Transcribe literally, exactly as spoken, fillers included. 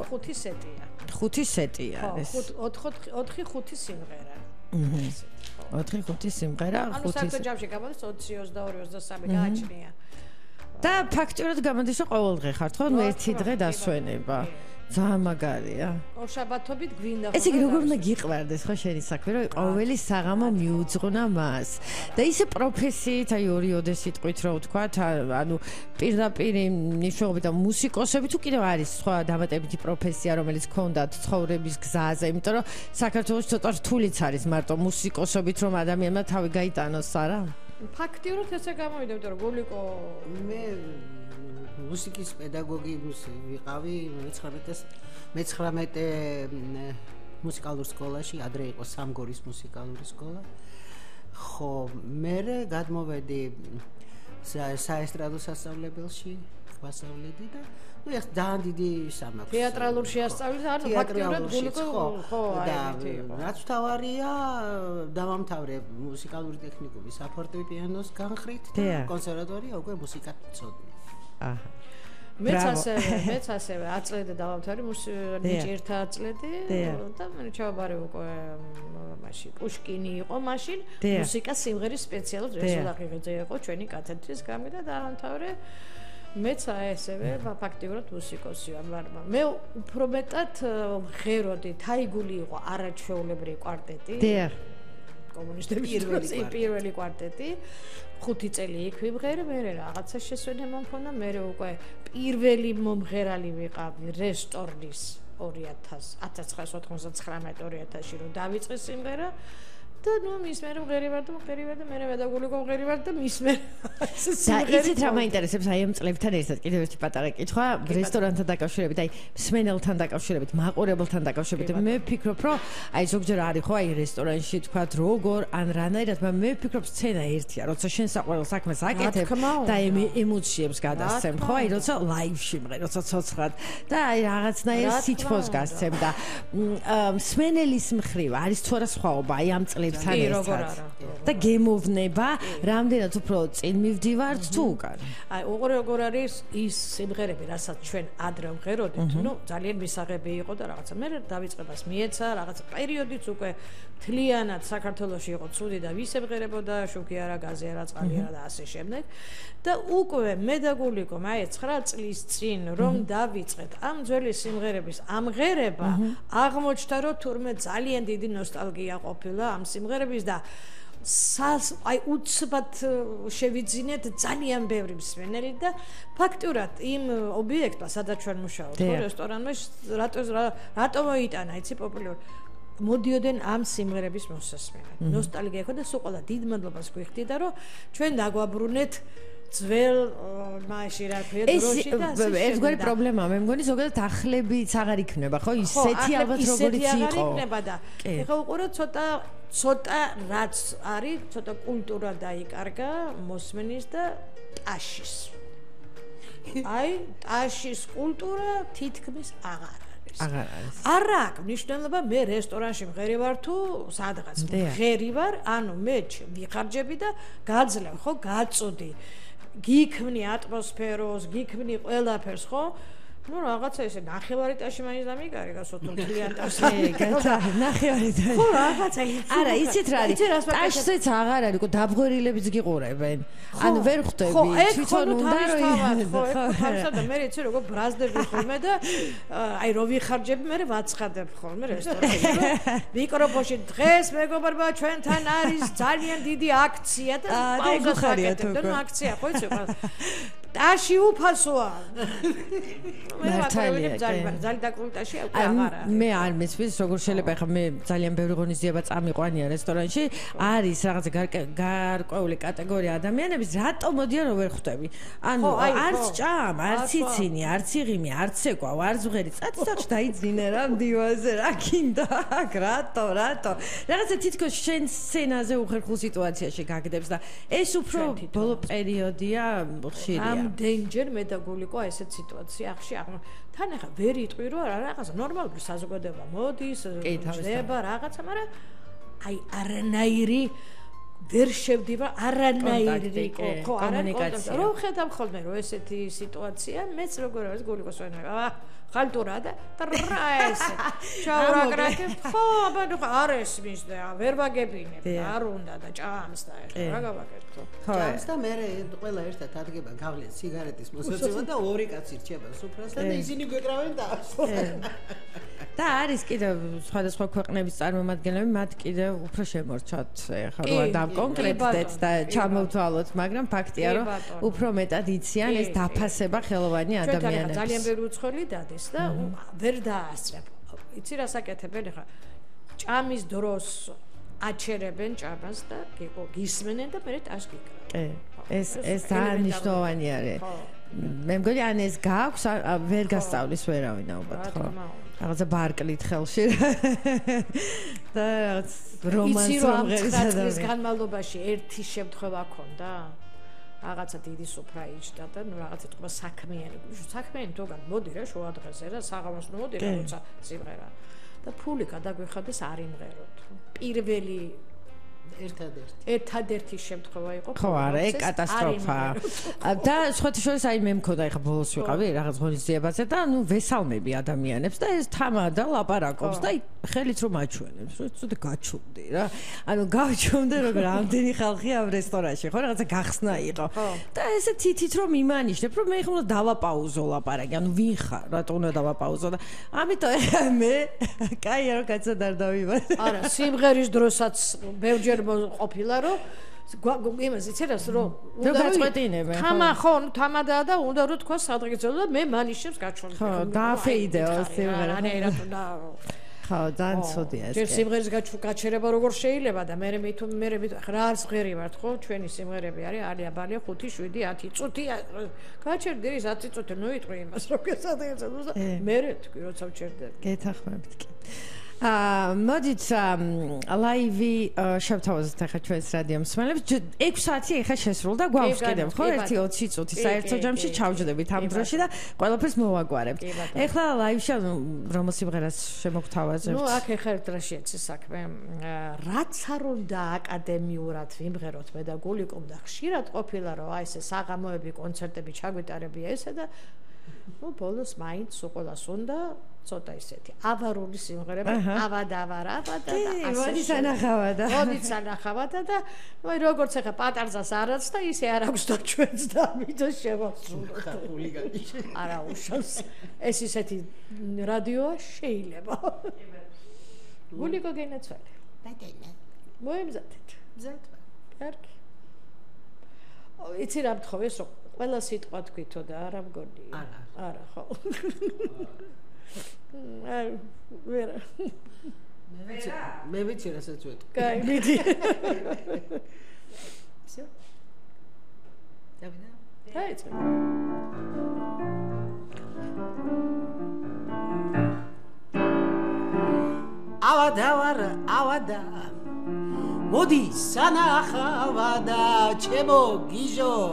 ხუთი სეტია. ხუთი სეტია ეს. ხო, ოთხი ხუთი სიმღერა. ოთხი ხუთი სიმღერა, ხუთი. ანუ საერთოდ ჯამში გამოდის ოცი, ოცდაორი, ოცდასამი გააჩნია. და ფაქტურად გამოდის რომ ყოველდღე ხართ ხო? ნუ ერთი დღე დასვენება. ძალიან მაგარია. ორშაბათობით გვინდა ხო? ეს იგი როგორ უნდა გიყვარდეს ხო შენი საქმე, რომ ყოველი საღამო მიუძღვნა მას. და ისე პროფესიით, აი ორი ოდე სიტყვით რო ვთქვათ, ანუ პირდაპირ ნიშნულობით და მუსიკოსები თუ კიდევ არის სხვა დამატებითი პროფესია, რომელიც ქონდათ ცხოვრების გზაზე, იმიტომ რომ საქართველოს ცოტა რთულიც არის მარტო მუსიკოსობით რომ ადამიანმა თავი გაიტანოს, არა? ფაქტიურად ესე გამოვიდა, იმიტომ რომ გულიკო მე მუსიკის პედაგოგი ვიყავი მეცხრამეტე მუსიკალურ სკოლაში, ადრე იყო სამგორის მუსიკალური სკოლა. ხო, მე გადმოვედი საესტრადო სასწავლებელში, ვასწავლედი და ну ეხ ძალიან დიდი სამაქვს. თეატრალურში ასწავლეთ, ანუ ფაქტიურად გულიკო ხო, და რაც თავარია, დავამთავრე მუსიკალური ტექნიკუმის საფორტეპიანოს განხრით და კონსერვატორია უკვე მუსიკას ვწოდნი. აჰა. მეც ასევე, მეც ასევე აწლედი დავამთავრე ნიჭიერთა აწლედი და მე ჩავაბარე უკვე მაშინ პუშკინი იყო მაშინ მუსიკა სიმღერის სპეციალურ რესურსი ღირზე იყო ჩვენი კათედრის გამი და დავამთავრე მეც ასევე ფაქტიურად მუსიკოსი ვარ. მე უფრო მეტად ღეროდი, თაიგული იყო არაჩვეულებრივი კვარტეტი. დიახ. კომუნისტების პირველი კვარტეტი. ხუთი წელი იქ ვიმღერე, მე რაღაცა შესვენება მქონდა, მე უკვე პირველი მომღერალი ვიყავი რესტორნის ორი ათას ოთხმოცდათხრამეტი ორი ათასში რომ დავიწყე სიმღერა და ნუ მის მე მღერი ვარ და მღერი ვარ და მე პედაგოგიკო მღერი ვარ და მის მე და იცით რა მაინტერესებს აი ამ წლებთან ერთად კიდევ ერთი პატარა კითხვა რესტორანთან დაკავშირებით აი მსმენელთან დაკავშირებით მაყურებელთან დაკავშირებით მე ვფიქრობ რომ აი ზოგჯერ არის ხო აი რესტორანში თქვა როგორ ან რანაირად მე ვფიქრობ სცენა ერთია როცა შენ საყვარელ საქმეს აკეთებ და ემოციებს გადასცემ ხო აი როცა ლაივში მღერ როცა ცოცხლად და აი რაღაცნაირ სითბოს გასცემ და მსმენელის მხრივ არის თუ არა სხვაობა აი ამ წლებთან და გემოვნება რამდენად უფრო წინ მივდივართ თუ უკან აი როგორ არის ის სიმღერები რასაც ჩვენ ადრე ვღეროდით ნუ ძალიან მისაღები იყო და რაღაცა მე დავიწყებას მიეცა რაღაცა პერიოდიც უკვე თლიანად საქართველოში იყო ცუდი და ვისემღერებოდა შუქი არა გაზი არა წყალი არა და ასე შემდეგ და უკვე მე და გულიკო აი ცხრა წლის წინ რომ დავიწყეთ ამ ძველი სიმღერების ამღერება აღმოჩნდა რომ თურმე ძალიან დიდი ნოსტალგია ყოფილა ამ სიმღერების და სას აი უცბად შევიძინეთ ძალიან ბევრი მსმენელი და ფაქტურად იმ ობიექტმა სადაც ჩვენ მუშაობთ ხო რესტორანში რატო რატო მოიტანა იცი პოპულარული მოდიოდნენ ამ სიმღერების მოსასმენად ნოსტალგია ხო და სულ ყველა დიდ მადლობას გვიხდი და რომ ჩვენ დაგვაბრუნეთ ძველ მაშინ რა ქვია დროში და ეს ერთგვარი პრობლემაა მე მგონი ზოგადად ახლებიც აღარ იქნება ხო ისეთი ალბათ როგორიც იყო იქნება და ეხლა უყურო ცოტა ცოტა რაც არის ცოტა კულტურა დაიკარგა მოსმენის და ტაშის აი ტაშის კულტურა თითქმის აღარ აღარ არის არა აქვს მნიშვნელობა მე რესტორანში მღერი ვარ თუ სადღაც მღერი ვარ ანუ მე ვიხარჯები და გაძლევ ხო გაწოდი გიქმნი ატმოსფეროს, გიქმნი ყველაფერს, ხო? ну რაღაცა ესე ნახევარი ტაში მაინც დამიკარგა სოთო თლიან ტაში გაცა ნახევარი ტაში ხო რაღაცა არა იცით რა არის ტაშზეც აღარ არის უკვე დაბღვერილებიც გიყურებენ ანუ ვერ ხვდები თვითონ უნდა რომ ხო ხო და მე იცი როგორ ბრაზდები ხოლმე და აი რო ვიხარჯები მე ვაცხადებ ხოლმე რესტორანში მიკროფონში დღეს მეგობრებო ჩვენთან არის ძალიან დიდი აქცია და პაუზას აკეთებ და ნუ აქცია ხო იცი ტაში უფასოა მე ვაკეთებ ძალიან ძალიან დაკრუტაში აღარა მე არ მესმის როგორ შეიძლება ხა მე ძალიან ბევრი ღონისძიება წამიყვანია რესტორანში არის რაღაცა გარკვეული კატეგორია ადამიანების რატომ მოდიან რომ ვერ ხვდები ანუ არც ჭამ არც იცინი არც იღიმი არც ეკვა არც ვღერი წაწახში დაიძინე რა მდივაზე რა გინდა აქ რატო რატო რაღაცა თითქოს შენ სცენაზე უხერხულ სიტუაციაში გაგდებს და ეს უფრო ბოლო პერიოდია ხშირია danger მე და გულიკო ესეთ სიტუაცია ახში თან ახლა ვერ იტყვი რომ რაღაცა ნორმალური საზოგადოება მოდის ჭდება რაღაცა მაგრამ აი არანაირი ვერ შევდივარ არანაირი ხო არანაირი რო ხედავ ხოლმე რომ ესეთი სიტუაცია მეც როგორ არის გულიკოს ვენება ხალტურა და ტრა ესე ჩავრაკრაკე ხო აბა ნუ არ ესმის და ვერ ვაგებინებ არ უნდა და ჭამს და ეხლა რა გავაკეთო ჭამს და მე ყველა ერთად ადგება გავლენ სიგარეტის მოსაწევა და ორი კაცი რჩება სუფრასთან და ისინი გვეკრავენ და და არის კიდევ სხვადასხვა ქვეყნების წარმომადგენლები მათ კიდევ უფრო შემორჩათ ეხლა რა დავკონკრეტდეთ და ჩამოვთვალოთ მაგრამ ფაქტია რომ უფრო მეტად იციან ეს დაფასება ხელოვანი ადამიანებს ძალიან ბევრი უცხოელი დადეს და ვერ დაასწრებ იცი რა საკეთებენ ეხლა ჭამის დროს აჩერებენ ჭამას და გისმენენ და მერე ტაშ გიკრავენ კი ეს ეს ძალიან მნიშვნელოვანი არის მე მგონი ან ეს გაქვს ვერ გასწავლის ვერავინ ალბათ ხო რაღაცა ბარკლით ხელში და რაღაც რომანს მომღერდა ის განმავლობაში ერთი შემთხვევა ქონდა რაღაცა დიდი სუფრა იჭდა და ნუ რაღაცა თქვა საქმიანი საქმიანი თოგან მოდი რა შუა დღეზე რა საღამოს ნუ მოდი რა როცა სიმღერა და ფული გადაგვიხადეს არ იმღეროთ პირველი ერთადერთი ერთადერთი შემთხვევა იყო ხო არა ეს კატასტროფაა და სხვათა შორის აი მე მქონდა ეხა ბოლოს ვიყავი რაღაც ღონისძიებაზე და ნუ ვესალმები ადამიანებს და ეს თამადა ლაპარაკობს და ხელით რომ აჩვენებს რომ ცოტა გაჩვენდი რა ანუ გავჩვენდე როგორ ამდენი ხალხი ამ რესტორანში ხო რაღაცა გახსნა იყო და ესე თითით რომ იმანიშნებ რომ მე ხომ უნდა დავაპაუზო ლაპარაკი ანუ ვინ ხარ რატო უნდა დავაპაუზო და ამიტომ ეხა მე კაი რა კაცად არ დავიბარე არა სიმღერის დროსაც ბევრჯერ ყოფილა რომ იმას იცერას რომ უნდა გაწყვეტინებენ ხო თამა ხო თამადა და უნდა რომ თქვა სადღეცელო და მე მანიშებს გაჩვენე ხო დააფეიდეო სიმღერა რა რა და ხო ძალიან ცუდია ეს ჯერ სიმღერის გაჩერება როგორ შეიძლება და მე მე თუ მე მე რა არც ღერი ვართ ხო ჩვენი სიმღერები არის ალია ბალია ხუთი შვიდი ათი წუთი გაჩერდი ის ათი წუთი ნუ იტყვი იმას რომ გესადღეცელო და მე თქვი როცა ვჩერდები გეთახმებით კი აა მოდით ლაივი შევთავაზოთ ახლა ჩვენს რადიო მსმენელებს ექვსი საათი ახლა შესრულდა გვაქვს კიდევ ხო ერთი ოცი წუთი საერთო ჯამში ჩავჯდებით ამ დროში და ყველაფერს მოვაგვარებთ ახლა ლაივში რომელ სიმღერას შემოგთავაზებთ ნუ აქ ახლა ერთ რა შეეცი საქმე რაც არ უნდა აკადემიურად ვიმღეროთ მე და გულიკომ და ხშირად ყოფილა რომ აი ესე საღამოები კონცერტები ჩაგვიტარებია ესე და ნუ ბოლოს მაინც უყოლას უნდა ცოტა ისეთი ავარული სიმღერები ავადავარა და ასე მოდი სანახავადა მოდი სანახავადა და ნუ როგორც ახლა პატარზას არაც და ისე არ აქვს და ჩვენც და ამიტომ შევასრულოთ ხულიგანი არა უშავს ეს ისეთი რადიოა შეიძლება გულიკო გენაცვალე დადენა მოემზადეთ მზად კარგი იცი რა მთხოვეს რომ ყველა სიტყვა თქვითო და არა მგონი არა არა ხო აი ვერა მე ვიცი რასაც ვეთქვი კაი მიდი всё დავინა დაიწყე ავადავარ ავადა მოდი სანახავადა ჩემო გიჟო